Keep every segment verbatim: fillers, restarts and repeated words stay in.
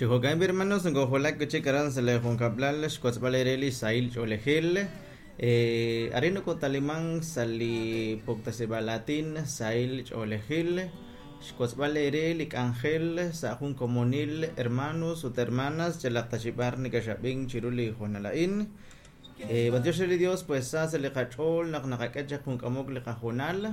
Chijo'kan hermanos nkojulak chik aran sa li junkablal xkotzb'al eere li sahil ch'oolejil eh, arin nokotaliman sa li puktasib'al latin sahil ch'oolejil xkotzb'al eere li k'anjel sa jun komonil hermanos ut hermanas chalaq taxib'ar nikaxab'in chiru li jonala'in eh, b'antiox re li Dios pues sa sa li qach'ool naq naqak'e chaq jun k'amok li qajonal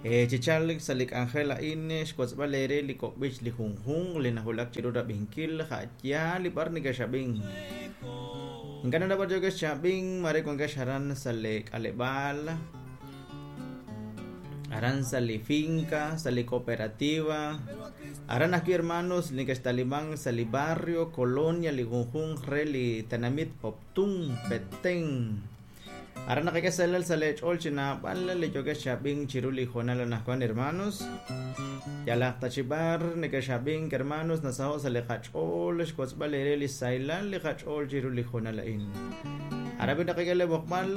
eh, chichal sa li k'anjel a'in xkotzb'al eere li kok'b'ich li junjunq li najulak chiru rab'inkil ja'ya li b'ar nikaxab'in ink'a' nab'ar yokex xab'in mare wankex aran sa li k'aleb'aal aran sa li finca sa li cooperativa aran ajwi' hermanos nikextaliman sa li barrio colonia li junjunq re li tenamit Poptún Petén aran naqak'e salal sa li ch'ool chi naab'al li yokex xab'in chiru li jonal anajwan hermanos yalaq tachib'ar nekexab'in hermanos nasaho' sa li qach'ool xkotzb'al eere li saylal li qach'ool chiru li jonal a'in arabi naqak'e le b'oqb'al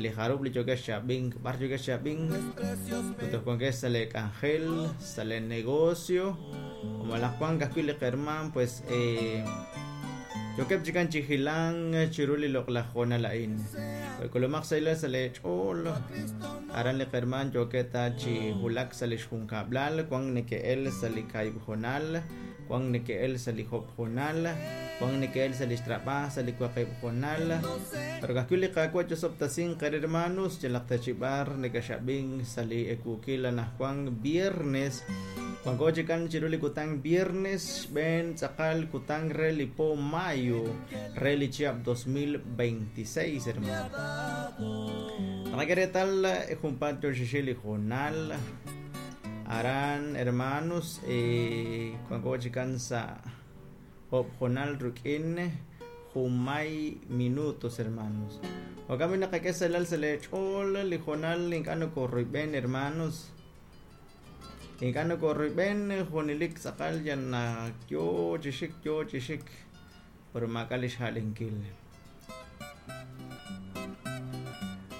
li jarub li yokex xab'in b'ar yokex xab'in ut wankex sa li k'anjel sa li negocio o malaj wank ajwi' li qerman pues eh, yokeb' chikan chi jilan chiru li loq'laj jonal a'in kulumaq saylal sa li ch'ool aran li qerman yoketa chi julak sa li xjunkab'lal wan neke'el sa li kaib' jonal wan neke'el sa li job jonal wan neke'el sa li xtrab'aj sa li waqib' jonal pero kajwi' li qaawa' chosob'tasin qer hermanos chalaq tachib'ar nekaxab'in sa li ekuukil anajwan viernes wanko chikan chiru li kutang viernes xb'een tz'aqal kutang re li po mayo re li chihab' dos mil veintiséis hermano naqak'e reetal junpaat yo xixil li jonal aran hermanos eh, wanko chikan sa job jonal ruk'in jumay minutos hermanos wakami naqak'e salal sa li ch'ool li jonal ink'a' nokorruyb'en hermanos ink'a' nokorruyb'en junilik tz'aqal yan yo chixik yo chixik pero maak'a' li xja'lenkil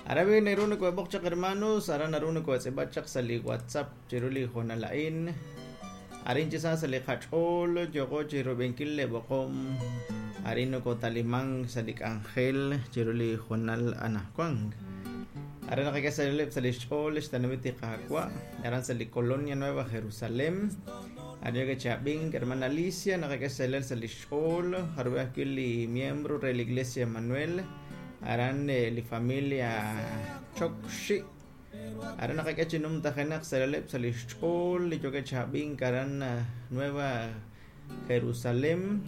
Arabi naru nokob'oq chaq hermanos aran naru nokotz'ib'at chaq sa li WhatsApp chiru li jonal a'in arin chi sa sa li qach'ool yoqo chirub'enkil le b'oqom arin nokotaliman sa li k'anjel chiru li jonal anajwan aran naqak'e sa li xch'ool xtenamit li Qaawa' aran sa li Colonia Nueva Jerusalén arin chab'in hermana Alicia naqak'e sa li xch'ool jarub'e ajwi' li miembro re la Iglesia Emanuel aran eh, li familia Chokxi aran naqak'e chi numtajenaq salaleb' sa li xch'ool li yoke chab'in aran Nueva Jerusalén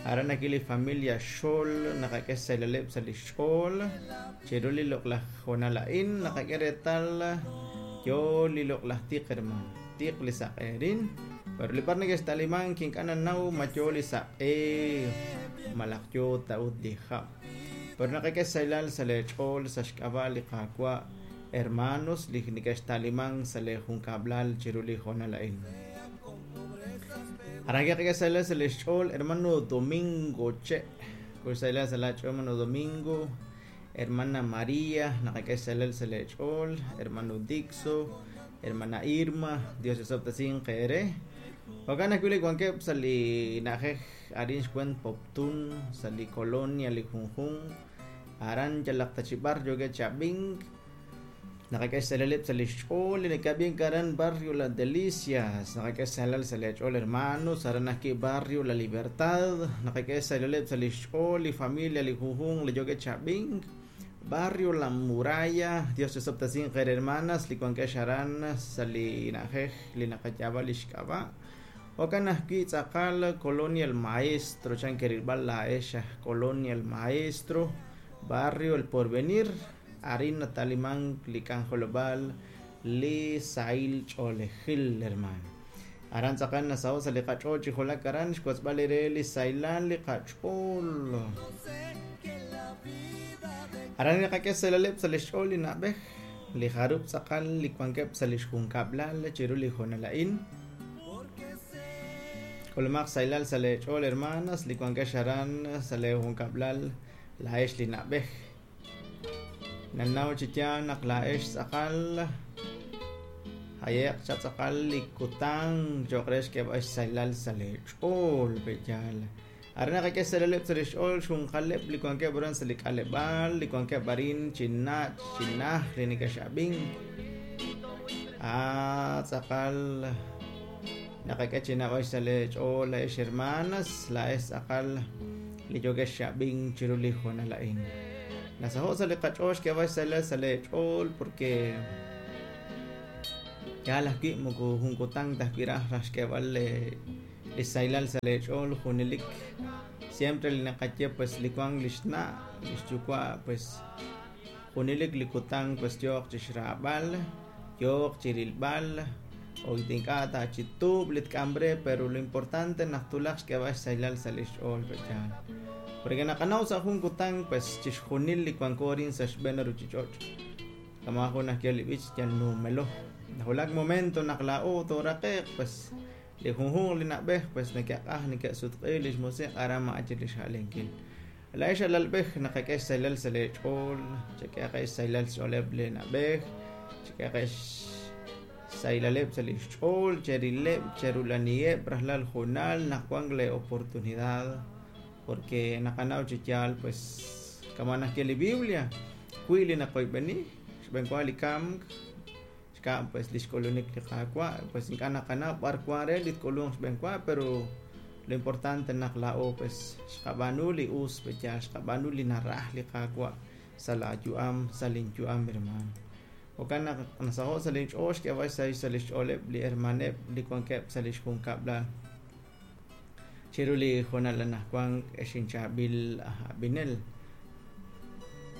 aran aki li familia Xol naqak'e salaleb' sa li xch'ool chiru li loq'laj jonal a'in naqak'e reetal yo li loq'laj tiq hermano tiq li saq'erin pero li par nekextaliman kink'a' nanaw ma yo li saq'e malaj yo ta'ut li jab' pero naqak'e saylal sa li ch'ool sa xk'ab'a' li Qaawa' hermanos li nekextaliman sa li junkab'lal chiru li jonal a'in aran naqak'e saylal sa li xch'ool hermano Domingo che kuy saylal sa la ch'ool hermano Domingo hermana María naqak'e saylal sa li ch'ool hermano Dixo hermana Irma Dios yosob'tasin qeere jo'kan ajwi' li wankeb' sa li na'ajej arin xkwen Poptún sa li colonia li junjunq aran yalaq tachib'ar yoke chab'in naqak'e salaleb' sa li xch'ool li nakab'in aran barrio La Delicias naqak'e salal sa li ch'ool hermanos aran ajwi' barrio La Libertad naqak'e salaleb' sa li xch'ool li familia li junjunq li yoke chab'in barrio La Muralla Dios yosob'tasin qeer hermanas li wankex aran sa li na'ajej li naqayaab'a li xk'ab'a' jo'kan ajwi' tz'aqal Colonia El Maestro chan kerilb'al la'ex aj Colonia El Maestro barrio El Porvenir arin nataliman li k'anjolob'al li sahil ch'oolejil hermano aran tz'aqal nasaho' sa li qach'ool chi julak aran xkotzb'al eere li saylal li qach'ool aran naqak'e salaleb' sa li xch'ool li na'b'ej li jarub' tz'aqal li wankeb' sa li xjunkab'lal chiru li jonal a'in k'ulumaq saylal sa li ch'ool hermanas li wankex aran sa li junkab'lal la'ex li na'b'ej nanaw chi yaal naq la'ex tz'aqal Hayeq chatz'aqal li kutan cho'q re xk'eeb'al xsaylal sa' leech'ool pe'yaal. Aran naqak'e xsaylaleb' sa' li xch'ool xjunqaleb' li wankeb' aran sa' li k'aleb'aal, li wankeb' arin chi nach' chi naj li neke'xab'in. Ah, tz'aqal naqak'e chi naab'al sa' leech'ool laa'ex hermanas, laa'ex tz'aqal li yookex xab'in chiru li hoonal a'in. Nasaho' sa' li qach'ool xk'eeb'al xsaylal sa' leech'ool porque yaal ajwi' moko jun kutan ta ajwi' raj raj xk'eeb'al li saylal sa' leech'ool junelik. Siempre li naqaye pues li wank li xna' li xyuwa' pues junelik li kutan pues yooq chi xraab'al, yooq chi rilb'al, o ink'a' ta chi tuub' li tk'am re, pero lo importante naq tulaq xk'eeb'al xsaylal sa' li xch'ool pe'yaal. Porque naqanaw sa' jun kutan pues chixjunil li wanko arin sa' xb'een ruchich'och'. Kama jun ajwi' li b'ich yal numelo. Najulak momento naq laa'o tooraqe'q pues li junjunq li na'b'ej pues neke'q'aj neke'sutq'i li xmusiq' aran ma'achi li xja'lenkil. Laa'ex alalb'ej naqak'e xsaylal sa' leech'ool, chak'ehaq xsaylal xch'ooleb' li na'b'ej, chak'ehaq xsaylaleb' sa' li xch'ool, cherileb', cherulaniheb' rajlal junal naq wank le oportunidad porque naqanaw chi yaal pues kama najye li Biblia wi li naqoyb'eni xb'een wa li kamk xkab' pues li xk'ulunik li Qaawa' pues ink'a' naqanaw b'ar wan re li tk'ulunq xb'een wa pero lo importante naq laa'o pues xqab'aanu li us pe'yaal xqab'aanu li naraj li Qaawa' sa' laayu'am sa' linyu'am hermano. Jo'kan naq nasaho' sa' linch'ool xk'eeb'al xsahil sa' li xch'ooleb' li hermaneb' li wankeb' sa' li xjunkab'lal chiru li hoonal anaqwan ex inchaab'il aj ab'inel.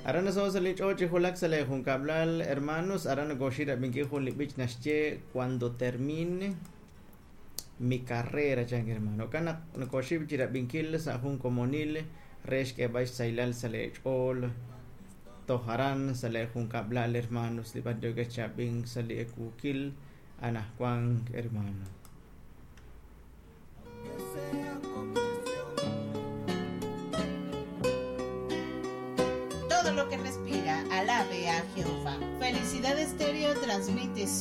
Aran nasaho' sa' linch'ool chi julak sa' li junkab'lal hermanos, aran nakoxi rab'inkil jun li b'ich naxye cuando termine mi carrera chan hermano. Jo'kan naq nakoxi chi rab'inkil sa' jun komonil re xk'eeb'al xsaylal sa' leech'ool toj aran sa' li junkab'lal hermanos li b'ar yookex chab'in sa' li ekuukil anaqwan hermano. Todo lo que respira, alabe a Jehová. Felicidad Estéreo transmite su